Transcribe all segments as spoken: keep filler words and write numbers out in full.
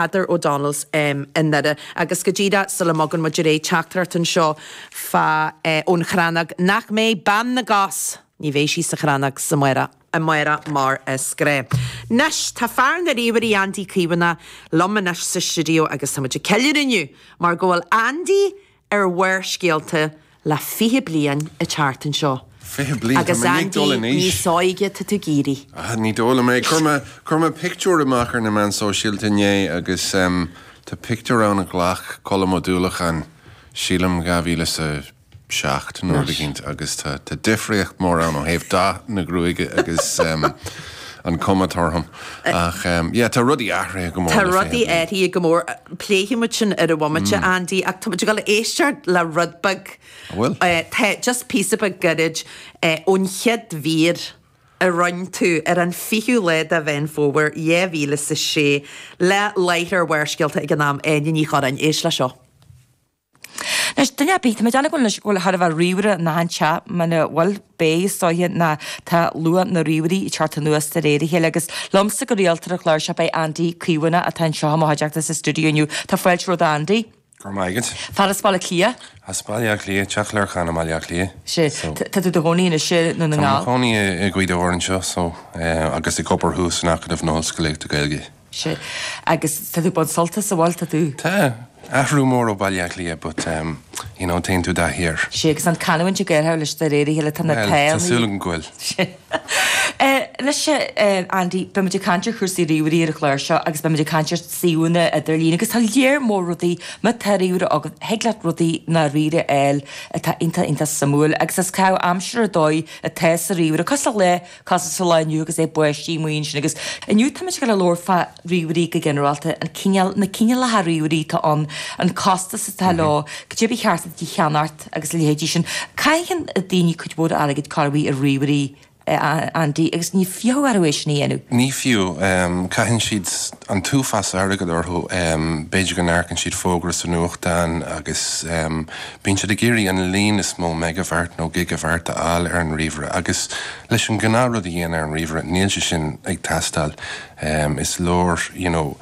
Peadar O'Donnell's um, i nDoire agus go díreach sula mbogann muid ar aghaidh teachtaireacht anseo fa eh, ón Chrannóg nach mbeidh bean na gcos ní bheidh sí sa Chrannóg sa amárach amárach mar is gnách. Anois tá fear na ríomhairí Andy Caomhánach liom anois sa stiúideo agus tá muid ag ceiliúradh inniu mar go bhfuil Andy ar Bharrscéalta le fiche bliain ag teacht anseo. Fiche bliain Agus Andy níos óige tá tú ag éirí. Ah, ní dóigh liom é chuir mé chuir mé pictiúr amach ar na meáin sóisialta inné agus um, tá pictiúr ann a ghlac Colm Ó Dúlacháin sílim dhá mhíle sa seacht nó rud agus tá tá difríocht mór ann ó thaobh dath na gruaige agus um, an cuma orm ach um, yeah, tá rudaí athraithe go mór. Tá rudaí athraithe go mór pléifimid sin ar an bhomaite mm. Andy ach tá ag éisteacht le rud beag Bhfuil? Uh, tá just píosa beag gairid uh, ón chéad mhír a rinne tú ar an fichiú lá de Mheán Fómhair dhá mhíle sa sé le láithreoir Bharrscéalta ag an am Áine Ní Churráin éist le seo. Anois duine ar bith, tá mé ag déanamh go bhfuil thar a bheith ríomhaire na hainte muna bhfuil beidh is dóiche ná tá luach na ríomhairí ag teacht anuas de réir a chéile agus liomsa go rialta ar an chlár seo beidh Andy Caomhánach atá anseo i mo chuideachta sa stiúideo inniu. Tá fáilte romhat Andy. Go raibh maith agat. Fear as Baile Átha Cliath. As Baile Átha Cliath, Teach Lorcáin i mBaile Átha Cliath. Sé tá tú i do chónaí anois i nDún na Tá nGall. cónaí i Gaoth Dobhair anseo so agus ag obair thuas in Acadamh na hOllscolaíochta Gaeilge. Sé agus tá tú ag baint sult as an bhfuil tá tú. Tá athrú mór ó Baile Átha Cliath, but um, you know, téann tú i dtaithí air. Sé agus an canúint ag éirí leis de réir a chéile tá na Well, tae. Tá súil agam go bhfuil. Anois Andy, beimid ag caint ar chúrsaí ríomhairí ar an chlár seo agus beimid ag caint ar suíomhanna idirlín agus tá léar mór rudaí má tá ríomhaire agat thig leat rudaí na ríomhaire a fháil atá iontach iontach suimiúil agus is caitheamh aimsire ar dóigh atá sa ríomhaire cosúil le cosúil sa lá inniu agus é báistí amuigh ansin agus inniu táimid ag labhairt fá ríomhairí go ginearálta an cineál na cineálacha ríomhairí atá ann an costas atá leo cad é ba cheart duit a cheannacht agus a leithéidí sin. Caitheann daoine cuid mhór airgid corruair ar ríomhairí Andy agus ní fiú orthu é sin a dhéanamh. Ní fiú um, caitheann siad an t-uafás airgead orthu um, b'fhéidir go n-amharcann siad fógra sa nuachtán agus um, bíonn siad ag iarraidh an líon is mó meigibheart nó gigabheart a fháil ar an ríomhaire agus leis an gnáthrud a dhéanamh ar an ríomhaire níl sé sin ag teastáil um, is leor you know,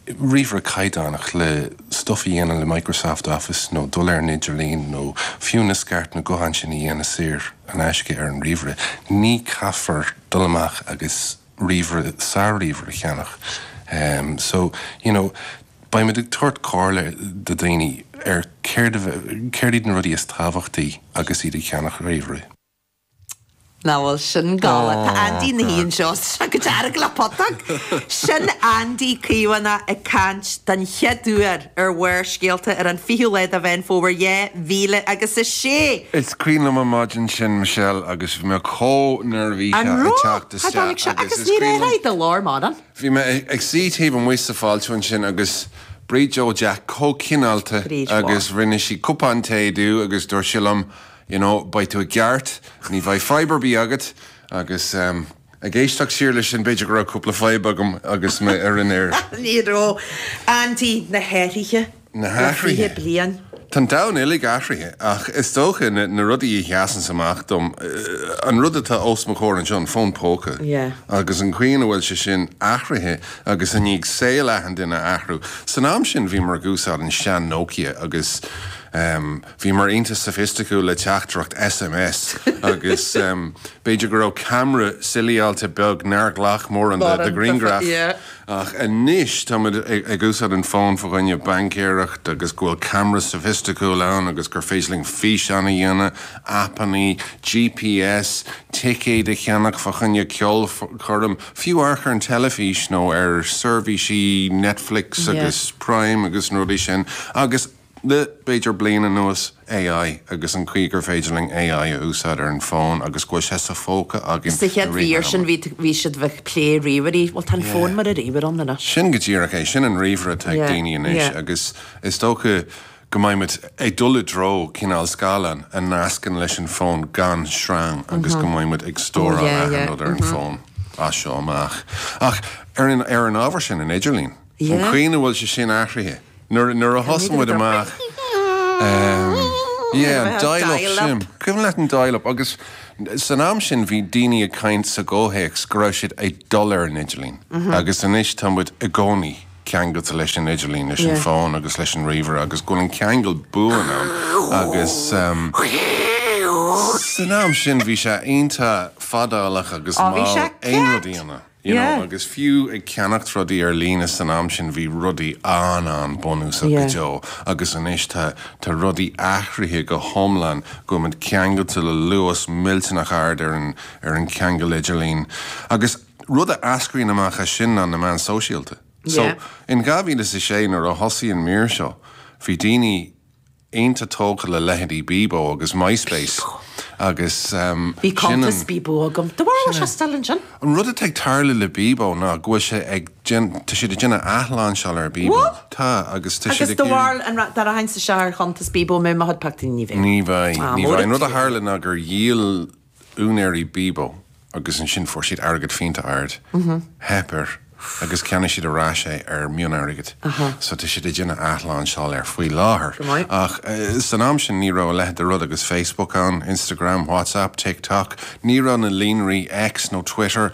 ríomhaire caighdeánach le stuff a dhéanamh le Microsoft Office nó dul ar an idirlíon nó fiú na scairt na gutháin sin a dhéanamh saor in aisce ar an ríomhaire. Ní caithfear dul amach agus ríomhaire sár-ríomhaire a cheannach. Um, so you know, Beimid ag tabhairt comhairle do daoine ar céard iad na rudaí is tábhachtaí agus iad ag ceannach ríomhaire. Ná bhfuil sin galánta Tá Andy na híon seo go dearg le putóg. Sin Andy Caomhánach ag caint den chéad uair ar Bharrscéalta ar an fichiú lá de Mheán Fómhair dhá mhíle agus a sé. Is cuimhin liom an maidin sin Michelle agus bhí mé chomh neirbhíseach An ag raibh teacht tháinig isteach sé agus agus is ní cuimhin raibh de lár maran. Bhí mé ag suí taobh amuigh sa fáilte ansin agus Bríd Joe Jack chomh cineálta Bríd mhaith. agus rinne sí cupán tae domh agus dúirt sí liom, you know, beidh tú i gceart, ní bheidh fadhb ar bith agat agus um, ag éisteacht siar leis sin b'fhéidir go raibh cúpla fadhb agam agus mé ar an aer. Ní raibh Andy na hathruithe Na le fiche hathruithe. bliain. Tá an domhan uilig athraithe ach is dócha na, na rudaí a sheasann amach dom eh, an rud atá os mo chomhair anseo an fón póca Yeah. agus an chaoi a bhfuil sé sin athraithe agus i ndiaidh saol achan duine athrú. San am sin bhíomar ag úsáid an sean Nokia agus um, bhíomar iontach soifisticiúil le teachtaireacht SMS agus um, b'fhéidir go raibh ceamara silíáilte beag nár ghlac mórán de, de ghrianghraf. Yeah. Ach anois táimid ag ag úsáid an fón fá choinne baincéireacht agus go bhfuil ceamara soifisticiúil ann agus gur féidir linn físeán a dhéanamh, appanna, GPS, ticéid a cheannach fá choinne ceolchoirm, fiú amharc ar an teilifís nó ar seirbhísí Netflix Yeah. agus Prime agus na rudaí sin agus le b'fhéidir bliain anuas AI agus an chaoi gur féidir linn AI a úsáid ar an fón agus go bhfuil sé sa phóca againn. Sa chéad mhír sin bhí bhí siad bheith plé ríomhairí, Well tá an fón mar a ríomhaire ann anois. Sin go díreach é sin an ríomhaire atá ag Yeah, daoine anois yeah. agus is dócha go mbeimid ag dul i dtreo cineál scáileán a nascann leis an fón gan sreang agus go mbeimid ag stóráil Oh, yeah, yeah. achan rud ar an fón as seo amach. Ach ar an ar an ábhar sin an idirlíon. An Yeah. chaoi a bhfuil sé sin athraithe. Nuair nuair a thosaigh muid amach um, yeah, dial-up Dial-up. sin. Cuimhin leat an dial-up agus san am sin bhí daoine ag caint sa gcomhthéacs go raibh siad ag dul ar an idirlíon. Agus anois tá muid i gcónaí ceangailte leis an idirlíon, leis an fón agus leis an ríomhaire agus go bhfuil an ceangal buan ann agus um, san am sin bhí sé iontach fadálach agus Ó, bhí mall sé aon rud a ceart. dhéanamh. You know, Yeah. agus fiú ag ceannacht rudaí ar líne san am sin bhí rudaí an-an-bhunúsach Yeah. go deo agus anois tá tá rudaí athraithe go hiomlán go bhfuil muid ceangailte le luas millteanach ard ar an ar an ceangal idirlín. Agus rud a eascraíonn amach as sin ná na meáin sóisialta. So Yeah. in dhá mhíle is a sé nuair a thosaigh an mír seo, bhí daoine iontach tógtha le leithéidí Bebo agus MySpace agus um, Bhí sin cuntas an- Bebo agam. Do bhfuil sé still ansin? An rud atá ag tarlú le Bebo ná go bhfuil sé ag tá siad ag déanamh athlainseáil ar Bebo. What? Tá agus tá Agus siad do bhfuil an dar hain sa seair chuntas Bebo mé ma pacta ní bheith. Ní bheidh Ah, ní mór bheidh. An rud a tú. tharla ná gur dhíol úinéirí Bebo agus ansin fuair siad airgead fiánta ard. Theip air agus cheannaigh siad ar ais é ar mionairgead. So tá siad ag déanamh athlainseáil air faoi láthair. Go maith. Ach eh, san am sin ní raibh a leithéid de rud agus Facebook ann, Instagram, WhatsApp, TikTok, ní raibh na líonraí X nó Twitter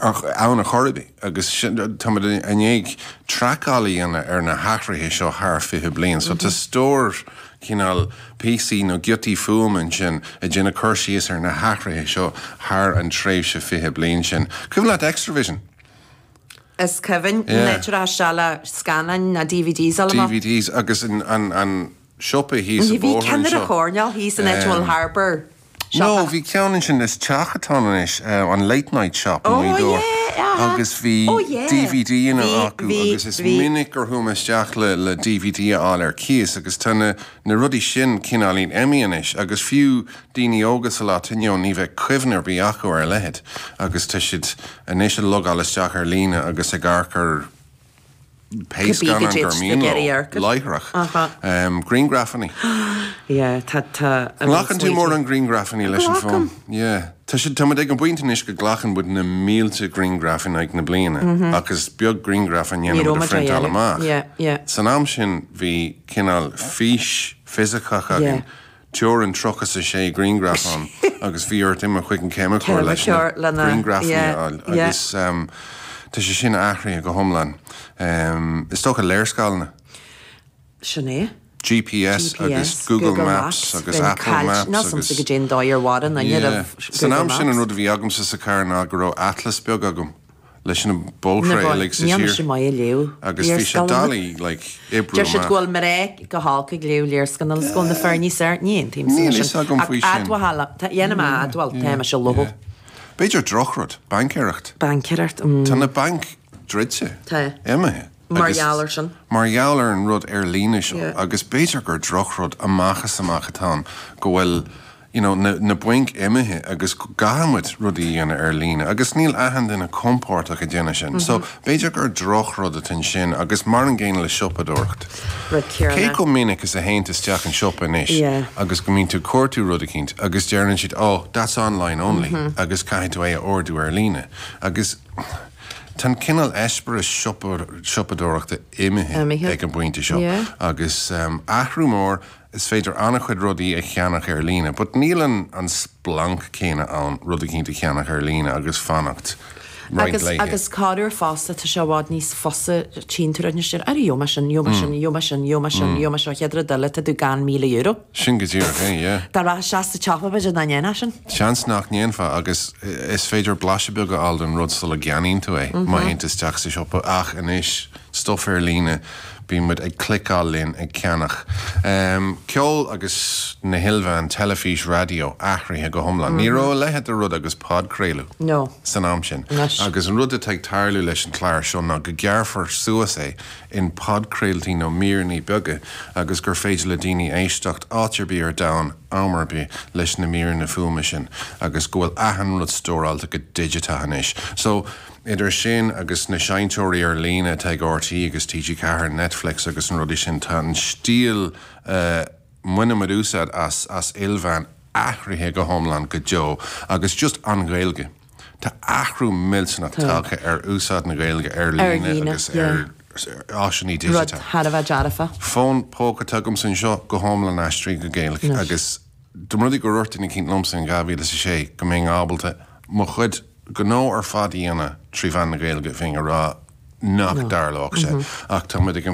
ar- ann a chorbi agus sin- táimid i ndiaidh traiceáil a dhéanamh ar na hathruithe seo thar fiche bliain. So tá stór cineál píosaí nó giotaí fuaime ansin ag déanamh cur síos ar na hathruithe seo thar an tréimhse fiche bliain sin. Cuimhin leat Xtra-vision? Is cuimhin Yeah. neidir se le scannáin na DVDs ala DVDs agus an, an, an siopa thíos Bhí bóthar ceann anseo. a choirneál thíos an Edgewell Harbour. No, bhí ceann ansin is teach atá anois uh, an late night shop Oh, in Gaoth Dobhair. yeah, aha. agus bhí Oh, yeah. DVD ina Bhí- acu bhí- agus is bhí. minic gur chuaigh mé isteach le le DVD a fháil ar cíos agus tá na, na rudaí sin cineáilín imithe anois agus fiú daoine óga sa lá inniu ní bheidh cuimhne ar bith acu ar a leithéid agus tá siad anois ag logáil isteach ar líne agus ag amharc ar pé Cibé scannán go dtéid gur na mian geirí leo, amharc. láithreach. Aha. Um, Grianghrafanna. Yeah, tá tá Glacann tú mórán grianghrafanna leis an Glacaim. fón. Yeah. Tá sé tá ag an bpointe anois go nglacann muid na mílte grianghraf in aghaidh na bliana agus beag grianghraf an Ní dhéanamh raibh a muid á phriontáil dhéanamh. amach. Yeah, yeah. San am sin bhí cineál fís fisiceach againn. Yeah. Teorainn tríocha a sé grianghraf ann agus bhí ort imeacht chuig an ceimiceoir leis na Ceimiceoir lena- grianghrafanna yeah, a fháil. yeah. agus um, tá sé sin athraithe go hiomlán. Um, is dócha léarscáileanna. Sin é. GPS, agus Google, Maps, agus Apple Maps Ná agus go dtéin dóir bhharan an San am sin an rud a bhí agamsa sa car ná go raibh atlas beag agam leis na bóithre uilig sa Ní tír. sé maith léamh. Agus bhí sé doiligh like, oibriú Deir siad amach. go bhfuil mé go holc ag léamh léarscáil is go bhfuil na fear níos fearr ní aontaím Níl fhios agam faoi sin. Admháil dhéanam admháil tá sé lo. B'fhéidir drochrud, baincéireacht. Baincéireacht Tá na bainc druidte. Tá. Imithe. Mar Agus- gheall air sin. Mar gheall ar an rud ar líne seo. Yeah. Agus b'fhéidir gur drochrud amach is amach atá ann go bhfuil you know, na, na bainc imithe agus go gcaithfimid rudaí a dhéanamh ar líne, agus níl achan duine compordach ag déanamh sin. So Mhm. b'fhéidir gur drochrud atá sin agus mar an gcéanna le siopadóireacht. Rud Cé céanna. chomh minic is a théann tú isteach an siopa anois Yeah. agus go mbíonn tú ag cuartú rud eicínt agus deireann siad oh, that's online only Mhm. agus caithfidh tú é a ordú ar líne. Agus Tá cineál eispéireas siopadóireachta imithe Imithe. ag an bpointe seo. Yeah. Agus um, athrú mór is féidir an-chuid rudaí a cheannach ar líne, but níl an, an splanc céanna ann rud eicínt a cheannach ar líne agus fanacht roinnt Agus laethe. agus corruair fosta tá sé i bhfad níos fusa tínú an sin ar joma sin joma sin joma sin joma sin joma seo cheadra duile tá tú gan míle euro. Sin go díreach é, yeah. Dá rá se sa tepa beidir na ndéana sin. Seans nach ndéanfá agus is féidir blaiseadh beag a fháil den rud sula gceannaíonn tú é má théann tú isteach sa siopa ach anois stuff ar líne bíonn muid ag cliceáil linn ag ceannach. Um, ceol agus na hilmheáin teilifís raidió athraithe go hiomlán. Ní raibh a leithéid de rud agus podchraoladh. No. San am sin. Anois. Agus an rud atá ag tarlú leis an chlár seo ná go gearrfar suas é in podchraoltaí nó míreanna beaga agus gur féidir le daoine éisteacht áit ar bith ar domhan am ar bith leis na míreanna fuaime sin agus go bhfuil achan rud stóráilte go digiteach anois. So idir sin agus na seinnteoirí ar líne atá ag RTÉ agus TG Ceathair Netflix agus an rudaí sin tá an stíl uh, muid úsáid as, as ilmheáin athraithe go hiomlán go deo agus just an Ghaeilge. Tá athrú millteanach tagtha ar úsáid na Gaeilge ar líne líne, agus yeah. ar áiseanna Rud digiteach. thar a bheith dearfa. Fón póca atá agam anseo go hiomlán aistrithe go Gaeilge agus dá mba rud é gur dhúirt duine eicínt liomsa in dhá mhíle is a sé go mbeinn ábalta mo chuid gnó ar fad a dhéanamh trí mheán na Gaeilge bheinn ag rá nach dtarlódh sé ach tá ag an